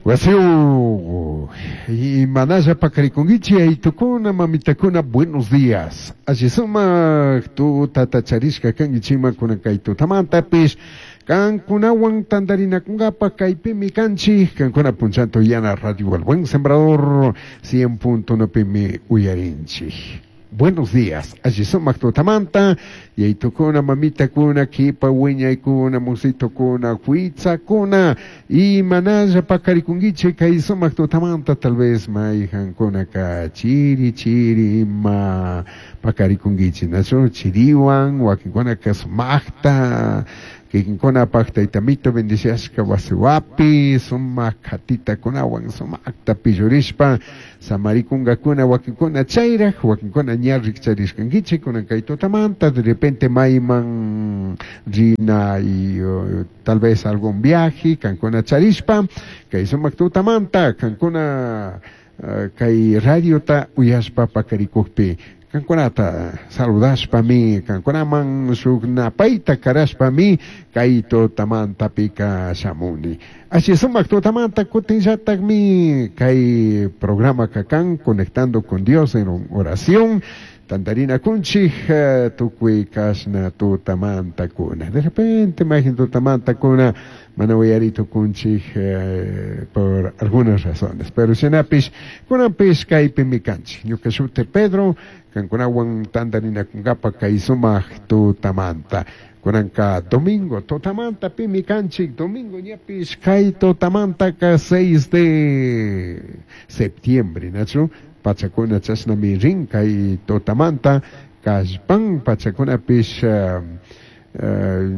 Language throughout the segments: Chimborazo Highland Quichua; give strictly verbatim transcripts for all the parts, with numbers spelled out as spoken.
Wasiu y manalla pakarikunkichi aytukuna mamitakuna buenos días. Alli sumak tutata charishka kankichikman kunan kay tutamantapis kankunawan tantarinakunkapa kaypimi kanchik kankuna punchanto yana radio El Buen Sembrador cien punto uno pimi uyarinchik. Buenos días, alli sumak tutamanta, yaytukuna, mamitakuna, kipa wiñaykuna, musitukuna, huitzakuna, y manalla pakarikunkichik kay sumak tutamanta, tal vez mayhankunaka chiri chiri ima pakarikunkichik, nachu chiriwan, wakinkunaka sumakta, kikinkunapaq taytamito bendiciashka wasiwapi, sumak katitakunawan sumakta pillurishpa, samarikunkakuna wakinkuna chayraj, wakinkuna ña rikcharishkankichik kunan kay tutamanta, de repente mayman rina y uh, tal vez algún viaje, kankuna charishpa, kay sumak tutamanta, kankuna uh, kay radiota uyashpa pakarikukpi, kankunata saludashpami, kankunaman shuk napayta karashpami, kay tutamantapika shamuni. Así sumak tutamanta kutinllatakmi kay programa kakan Conectando con Dios en oración, tantarina kunchik tukuy kashna tutamanta kuna. De repente imagin tutamanta kuna mana uyarito kunchik eh, por algunas razones. Pero shinapis kunanpis kaypimi kanchik. Ñuka shuti Pedro, kankunawan tantarina kunkapa kay sumak tutamanta. Kunanka domingo tutamanta pimi kanchik, domingo ñapis kay tutamantaka seis de septiembre, nachu? Pachakuna chashnami rin kay tutamanta kallpan pachakunapish uh, uh,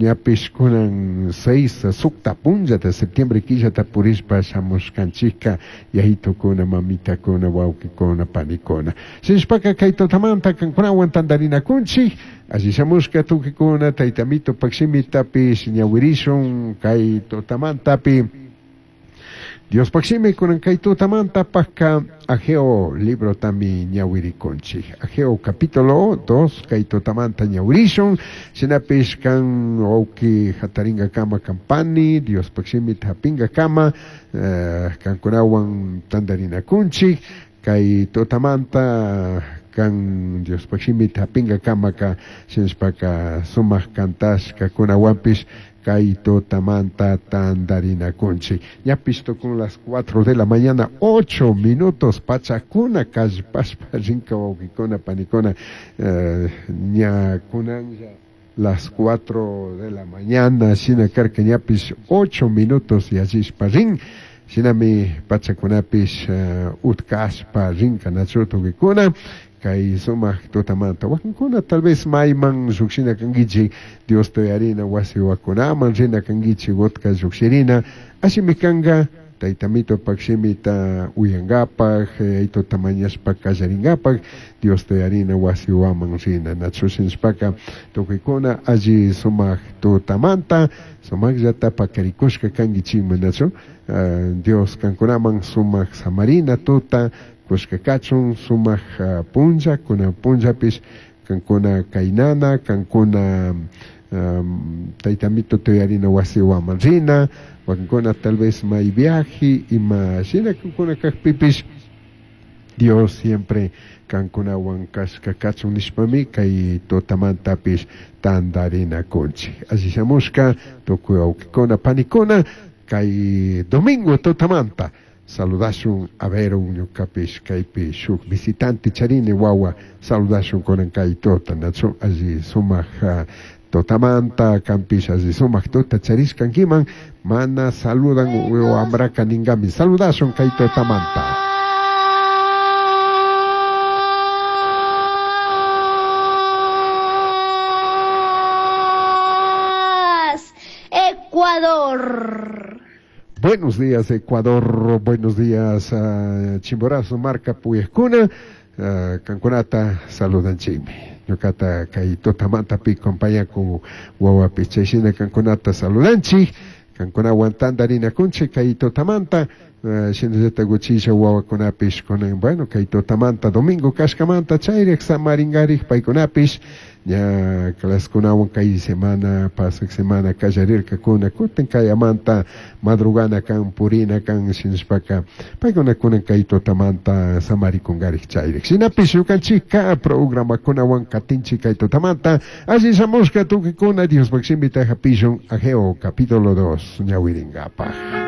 ñapish kunan seis sukta punlla de septiembre killata purishpa shamushkanchikka yayitukuna mamitakuna wawqikuna panikuna shinashpaka kay tutamanta kankunawan tantarinakunchik alli shamushka tukikuna taytamito pakshimitapish ñawirishun kay tutamantapi. Dios pakshimi kunan kay tutamanta pakka Ageo libro tami ñawirikunchik. Ageo capítulo dos kay tutamanta ñawirishun. Shinapish kan wawki hataringa kama kampani, Dios pakshimi hapinga kama, uh, kankunawan tantarinakunchik. Kay tutamanta kan Dios pakshimi hapinga kama ka shinashpaka sumak kantashka kunawanpish kay tutamanta tantarinakunchik. Ñapis tukun las cuatro de la mañana, ocho minutos, pachakuna kallpashpa rinka wawqikuna panikuna, eh, ña kunanlla las cuatro de la mañana, shina karka ñapis ocho minutos yallishpa rin, shinami pachakunapish uh, utkashpa rinka nachu tukikuna, kay sumak tutamanta wakinkuna tal vez mayman llukshina kankichik Dios toyarina wasi wakunaman rina kankichik utka llukshirina ashimi kanka taytamito pakshimita uyankapak aytuta mañashpa kallarinkapak Dios toyarina wasi waman rina nachu shinashpaka tukuykuna alli sumak tutamanta sumakllata pakarikushka kankichikman nachu uh, Dios kankunaman sumak samarina tuta kushka kachun sumak uh, punlla kuna punllapis kankuna kaynana kankuna um, taytamito toyarina wasi waman rina wakinkuna tal vez may viaje ima shina kankuna kakpipis Dios siempre kankunawan kashka kachun nishpami kay tutamantapis tantarina kunchik. Alli shamushka tukuy wawqikuna panikuna kay domingo tutamanta saludashun a ver un ñukapish kaypi shuk visitante charini wawa saludashun kunan kay tuta nachu alli sumak uh, tutamanta kampish alli sumak tuta charishkankiman mana saludan wambraka ninkami saludashun kay tutamanta. Ecuador. Buenos días, Ecuador. Buenos días, uh, Chimborazo, Marca, Puyescuna. Uh, Kankunata, saludan chimi. Ñuqata kay tutamantapi compañaku wawapi chayshina kankunata saludanchik. Kankunawan tantarinakunchik kay tutamanta. Shinallatak uchilla wawakunapish kunan, bueno, kay tutamanta domingo kashkamanta chayrik samaringarik paykunapish ña claskunawan kay semana pasak semana kallarirkakuna, kutin kayamanta madrugana kan, purina kan, shinashpaka paykuna kunan kay tutamanta samarikungarik chayrik. Shinapish ñukanchikka programakunawan katinchik kay tutamanta. Alli shamushka tukikuna, Diospaj shimita hapishun Ageo capítulo dos ñawiringapaj.